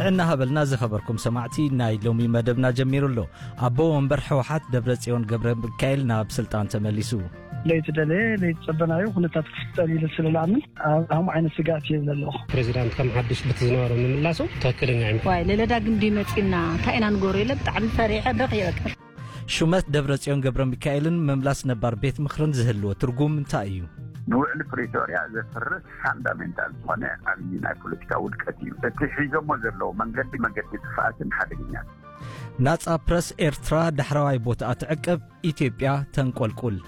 እናሃበልና ዝኸበርኩም ሰማዕቲ፣ ናይ ሎሚ መደብና ጀሚሩ ኣሎ። ኣቦ ወንበር ህወሓት ደብረጽዮን ገብረ ሚካኤል ናብ ስልጣን ተመሊሱ። ለይተደለየ ለይተጸበናዮ ኩነታት ክፍጠር ኢለ ስለ ዝኣምን ኣብ ከምኡ ዓይነት ስግኣት እየ ዘለኹ። ፕሬዚዳንት ከም ሓዱሽ ብቲ ዝነበሮ ምምላሱ ትኽክለኛ እዩ። ዋይ ለለዳ ግንዲ መጺና እንታይ ኢና ንገብሮ ኢለ ብጣዕሚ ፈሪሐ በኽየ በቃ። ሹመት ደብረጽዮን ገብረ ሚካኤልን ምምላስ ነባር ቤት ምኽርን ዝህልዎ ትርጉም እንታይ እዩ? ንውዕሊ ፕሪቶርያ ዘፍርስ ፋንዳሜንታል ዝኾነ ዓብዪ ናይ ፖለቲካ ውድቀት እዩ። እቲ ሒዞሞ ዘለዉ መንገዲ፣ መንገዲ ጥፍኣትን ሓደገኛን። ናጻ ፕረስ ኤርትራ ዳሕረዋይ ቦታኣ ትዕቅብ፣ ኢትዮጵያ ተንቆልቁል።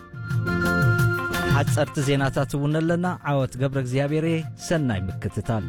ሓጸርቲ ዜናታት እውን ኣለና። ዓወት ገብረ እግዚኣብሔር፣ ሰናይ ምክትታል።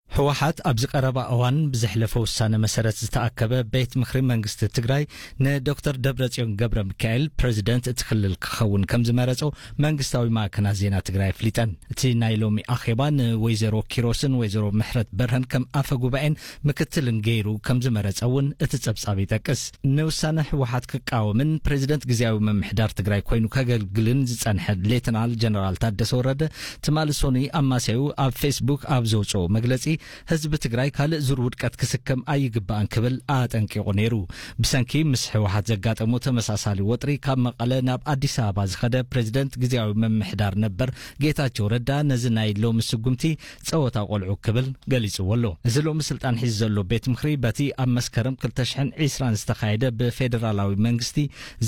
ህወሓት ኣብዚ ቀረባ እዋን ብዘሕለፈ ውሳነ መሰረት ዝተኣከበ ቤት ምኽሪ መንግስቲ ትግራይ ንዶክተር ደብረጽዮን ገብረ ሚካኤል ፕሬዚደንት እቲ ክልል ክኸውን ከም ዝመረጾ መንግስታዊ ማዕከናት ዜና ትግራይ ኣፍሊጠን። እቲ ናይ ሎሚ ኣኼባ ንወይዘሮ ኪሮስን ወይዘሮ ምሕረት በርሀን ከም ኣፈ ጉባኤን ምክትልን ገይሩ ከም ዝመረጸ እውን እቲ ጸብጻብ ይጠቅስ። ንውሳነ ህወሓት ክቃወምን ፕሬዚደንት ግዝያዊ ምምሕዳር ትግራይ ኮይኑ ከገልግልን ዝጸንሐ ሌተናል ጀነራል ታደሰ ወረደ ትማሊ ሰኑይ ኣማስያኡ ኣብ ፌስቡክ ኣብ ዘውፅኦ መግለፂ፣ ህዝቢ ትግራይ ካልእ ዙር ውድቀት ክስከም ኣይግባእን ክብል ኣጠንቂቑ ነይሩ። ብሰንኪ ምስ ህወሓት ዘጋጠሞ ተመሳሳሊ ወጥሪ ካብ መቐለ ናብ ኣዲስ ኣበባ ዝኸደ ፕሬዚደንት ግዝያዊ ምምሕዳር ነበር ጌታቸው ረዳ ነዚ ናይ ሎሚ ስጉምቲ ጸወታ ቆልዑ ክብል ገሊጽዎ ኣሎ። እዚ ሎሚ ስልጣን ሒዙ ዘሎ ቤት ምኽሪ በቲ ኣብ መስከረም ክልተ ሽሕን ዕስራን ዝተኻየደ ብፌደራላዊ መንግስቲ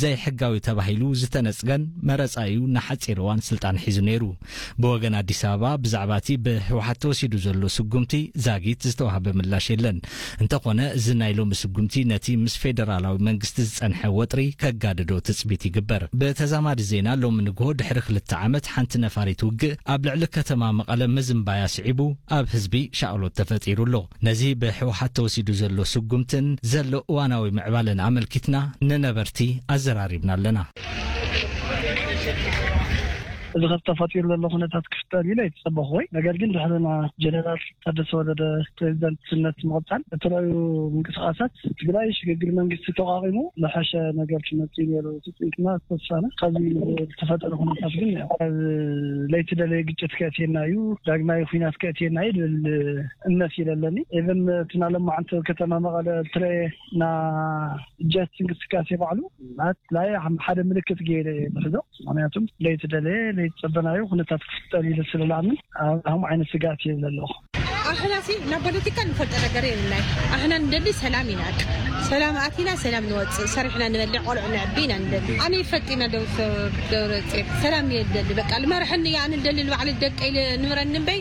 ዘይሕጋዊ ተባሂሉ ዝተነጽገን መረጻ እዩ ንሓጺር እዋን ስልጣን ሒዙ ነይሩ። ብወገን ኣዲስ ኣበባ ብዛዕባ እቲ ብህወሓት ተወሲዱ ዘሎ ስጉምቲ ዛጊት ዝተዋህበ ምላሽ የለን። እንተኾነ እዚ ናይ ሎሚ ስጉምቲ ነቲ ምስ ፌደራላዊ መንግስቲ ዝጸንሐ ወጥሪ ከጋድዶ ትጽቢት ይግበር። ብተዛማዲ ዜና ሎሚ ንግሆ ድሕሪ ክልተ ዓመት ሓንቲ ነፋሪት ውግእ ኣብ ልዕሊ ከተማ መቐለ ምዝንባያ ስዒቡ ኣብ ህዝቢ ሻቕሎት ተፈጢሩ ኣሎ። ነዚ ብህወሓት ተወሲዱ ዘሎ ስጉምትን ዘሎ እዋናዊ ምዕባለን ኣመልኪትና ንነበርቲ ኣዘራሪብና ኣለና። እዚ ኸብ ተፈጢሩ ዘሎ ኩነታት ክፍጠር ኢለ ኣይተጸበኹ ወይ፣ ነገር ግን ድሕሪ ና ጀነራል ታደሰ ወረደ ፕሬዚዳንትነት ምቕጻል እተለያዩ ምንቅስቃሳት ትግራይ ሽግግር መንግስቲ ተቋቒሙ ዝሐሸ ነገር ክመጽእ እዩ ነይሩ ትጽቢትና ተስፋና። ካብዚ ዝተፈጠረ ኩነታት ግን ያው ኣብ ለይቲ ደለየ ግጭት ከእትየና እዩ፣ ዳግማዊ ኩናት ከእትየና እዩ ዝብል እምነት እዩ ዘለኒ። ኢቨን እቲ ናለማዓንቲ ከተማ መቐለ ትረኤ ና ጀት እንቅስቃሴ ባዕሉ ማለት ላይ ሓደ ምልክት ገይረ ብሕዞ ምክንያቱም ለይተደለየ ለይተጸበናዮ ኩነታት ክፍጠር ኢለ ስለ ዝኣምን ኣብ ከምኡ ዓይነት ስግኣት እየ ዘለኹ። ኣሕናሲ ናብ ፖለቲካ ንፈልጦ ነገር የብልናይ። ኣሕና ንደሊ ሰላም ኢና። ሰላም ኣቲና ሰላም ንወፅእ፣ ሰሪሕና ንበልዕ፣ ቆልዑ ነዕቢ ኢና ንደሊ። ኣነ ይፈጢና ደው ደብረፅዮን ሰላም እየ ደሊ። በቃ ልመርሐኒ እየ ኣነ ደሊ ንባዕሊ ደቀይ ንብረኒ እምበይ